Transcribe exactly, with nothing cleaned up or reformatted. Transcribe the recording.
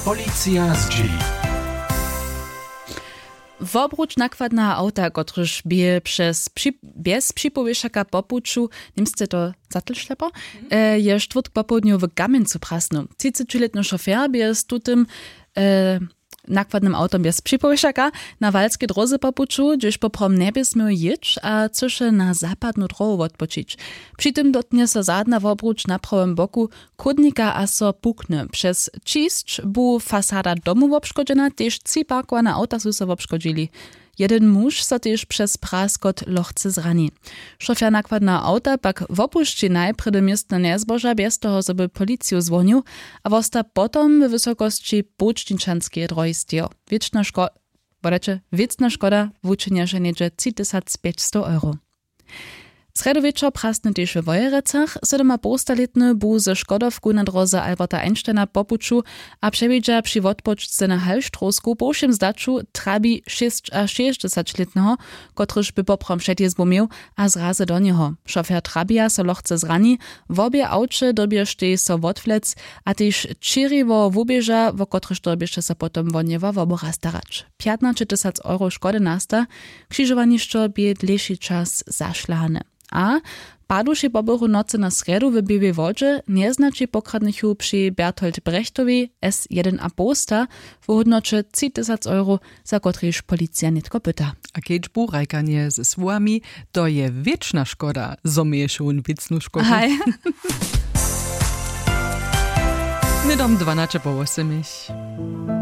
Policija zdźěli. Wobruč nakładneho awta, kotryž bě přez při-, bjez připowěšaka po puću, němsce to zatlšlepo, e, je štwórtk popołdnju w Kamjencu prasnył. Třicećilětny šofer bě z tutym, e, nakładnym awtom bjez připowěšaka na walskej dróze po puću, hdźež poprawom njebě směł jěć a chcyše na zapadnu dróhu wotpočić. Při tym dotnje so zadna wobruč na prawym boku chódnika a so pukny. Přez ćisć bu fasada domu wobškodźena, tež tři parkowane awta su so wobškodźili. Jedyn muž so tež přez praskot lochce zrani. Šofjer nakładneho awta pak wopušći najprjedy městno njezboža bjez toho, zo by policiju zwonił, a wosta potom we wysokosći połčničanskeje dróhi stejo. Wěčna ško-, wodajće, wěcna škoda wučinješe něhdźe tři tysac pjećstow euro. Srjedu wječor prasny tež we Wojerecach. Sydomapołstalětny bu ze Škodowku na dróze Alberta Einsteina po puću a přewidźa při wotpočce na Hallstrowsku po wšěm zdaću trabi šěsćašěsćdźesaćlětneho, kotryž by poprawom předjězbu měł, a zrazy do njeho. Šofjer trabija so lochce zrani, wobě awće dyrbještej so wotwlec a tež čěriwo wuběža, wo kotryž dyrbješe so potom wohnjewa wobora starać. Pjatnaće tysac euro škody nasta, křižowanišćo bě dlěši čas zašlahane. A paduši po bychu nocy na srjedu w Běłej Wodźe njeznaći pokradnychu při Berthold Brechtowej S jedyn a połsta w hódnoće tři tysac euro, za kotrejiž policija nětko pyta. A kedźbu hrajkanje ze słowami: „To je wěčna škoda, zo měješe wón wěcnu škodu.“ Haj. Hnydom dwanaće po wosymich.